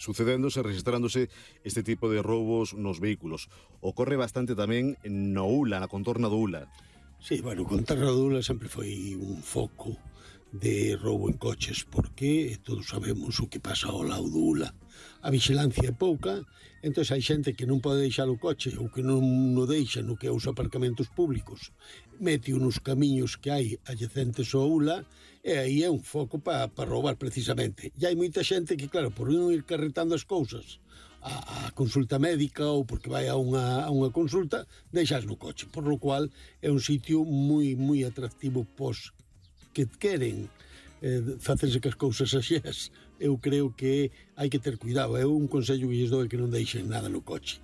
sucedéndose, registrándose este tipo de roubos nos vehículos. Ocorre bastante tamén no ULA, na contorna do ULA. Sí, bueno, contorna do ULA sempre foi un foco de roubo en coches, porque todos sabemos o que pasa ao lado do ULA. A vigilancia é pouca, entón hai xente que non pode deixar o coche ou que non o deixa no que é os aparcamentos públicos, mete nos camiños que hai adjacentes ao ULA, e aí é un foco para roubar precisamente. E hai moita xente que, claro, por non ir carretando as cousas a consulta médica ou porque vai a unha consulta, deixas no coche, por lo cual é un sitio moi atractivo pos que queren facerse que as cousas axeas. Eu creo que hai que ter cuidado. É un consello que lles dou, que non deixen nada no coche.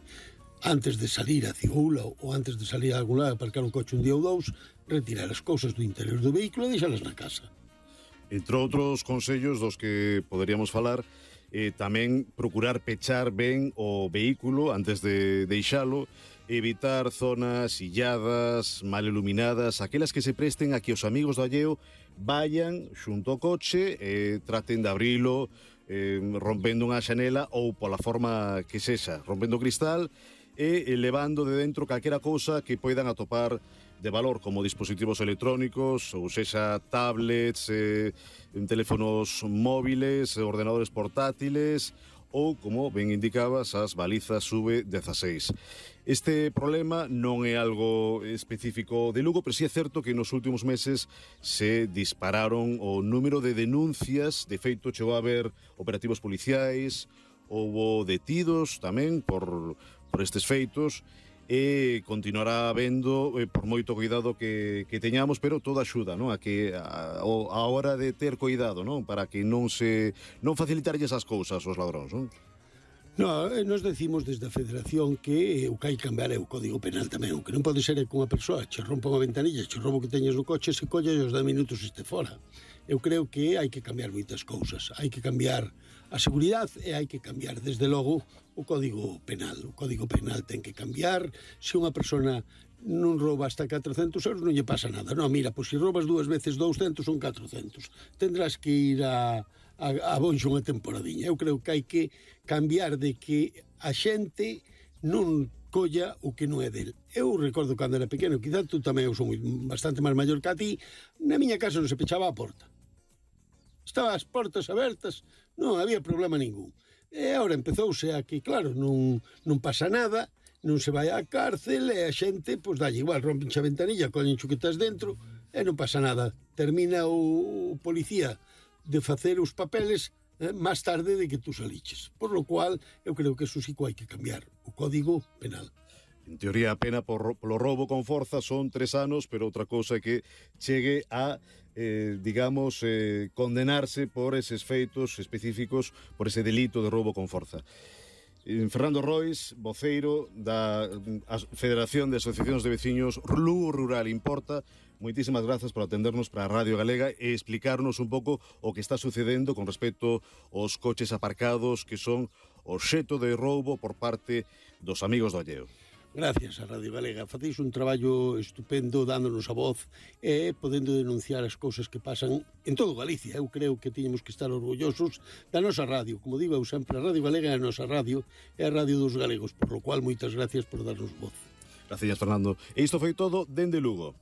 Antes de salir a Cigula ou antes de salir a algún lado, aparcar un coche un día ou dous, retirar as cousas do interior do vehículo e deixalas na casa. Entre outros consellos dos que poderíamos falar, tamén procurar pechar ben o vehículo antes de deixalo, evitar zonas illadas, mal iluminadas, aquelas que se presten a que os amigos do alleo vayan xunto ao coche e traten de abrilo rompendo unha xanela ou pola forma que sexa, rompendo o cristal e levando de dentro calquera cousa que poidan atopar de valor, como dispositivos electrónicos, ou sexa tablets, teléfonos móviles, ordenadores portátiles ou, como ben indicabas, as balizas SUV-16. Este problema non é algo específico de Lugo, pero sí é certo que nos últimos meses se dispararon o número de denuncias. De feito, chegou a haber operativos policiais, houbo detidos tamén por estes feitos, e continuará habendo por moito cuidado que teñamos, pero todo axuda, non? A hora de ter cuidado, non? Para que non facilitarlles as cousas aos ladróns, non? No, nos decimos desde a Federación que o que hai que cambiar é o Código Penal tamén. O que non pode ser é que unha persoa che rompa unha ventanilla, che roubo que teñas no coche, se colla e os 10 minutos este fora. Eu creo que hai que cambiar moitas cousas. Hai que cambiar a seguridade e hai que cambiar, desde logo, o Código Penal. O Código Penal ten que cambiar. Se unha persona non rouba hasta 400 euros non lle pasa nada. Non, mira, pois se roubas 2 veces 200 son 400. Tendrás que ir a Bonxo unha temporadiña. Eu creo que hai que cambiar de que a xente non colla o que non é del. Eu recordo cando era pequeno, quizá tú tamén, eu son bastante máis maior que a ti, na miña casa non se pechaba a porta. Estaban as portas abertas, non había problema ningún. E agora empezouse a que, claro, non pasa nada, non se vai á cárcel e a xente, pois dalle igual, rompen a ventanilla, collen chuquetas dentro e non pasa nada. Termina o policía de facer os papeles máis tarde de que tú saliches. Por lo cual, eu creo que eso sí que hai que cambiar, o Código Penal. En teoría, a pena polo roubo con forza son 3 anos, pero outra cousa é que chegue a, condenarse por eses feitos específicos, por ese delito de roubo con forza. Fernando Rois, voceiro da Federación de Asociacións de Veciños Lugo Rural Importa, moitísimas grazas por atendernos para a Radio Galega e explicarnos un pouco o que está sucedendo con respecto aos coches aparcados que son obxeto de roubo por parte dos amigos do alleo. Gracias a Radio Galega. Facéis un traballo estupendo dándonos a voz e podendo denunciar as cousas que pasan en todo Galicia. Eu creo que teñemos que estar orgullosos da nosa radio. Como digo eu sempre, a Radio Galega é a nosa radio, é a radio dos galegos, por lo cual moitas gracias por darnos voz. Gracias, Fernando. E isto foi todo dende Lugo.